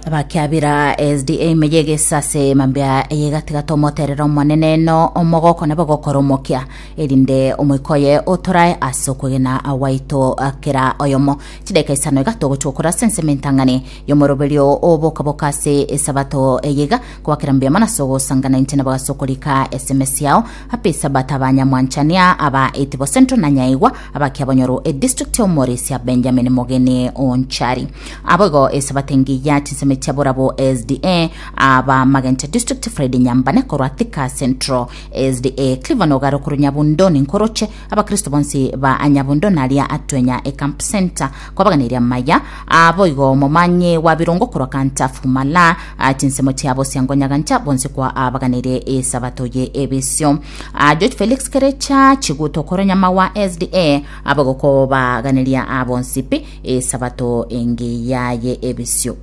Abakiabira SDA meyegesa ase mambia eyegatigata omoterero omonene no omogoko nabo gokora omokia erinde omoika oye otorae ase okwegena gwaito kera oyomo. Chidakika isano iga togochia gokora ase ensemo entang'ani y'omoroberio oboka-boka ase esabato eye iga kobakera mbuya mono ase ogosangana inche nabo ase okorika SMS yao. Happy Sabbath abanyamwanchania aba Itibo Central na Nyaigwa abakiabonyoru edistrict ya Omorisia Benjamin Mogeni Onchari. Aboigo esabato engiya chinsemo chia Borabo SDA aba Magenche District Fred Nyambane korwa Thika Central SDA Cleveland Ogare korwa Nyabundo ninkoroche Abakristo bonsi ba Nyabundo naria atwenya ecamp center kwabaganiria amaya. Aboigo omomanye wa birongo korwa Kantafu Mala chinsemo chia Bosiango Nyagancha bonsi kwa abaganirie esabato ye ebisio. George Felix Kerecha Chiguto korwa Nyamawa SDA aboigo kobaganeria abonsi pi esabato engiya ye ebisio.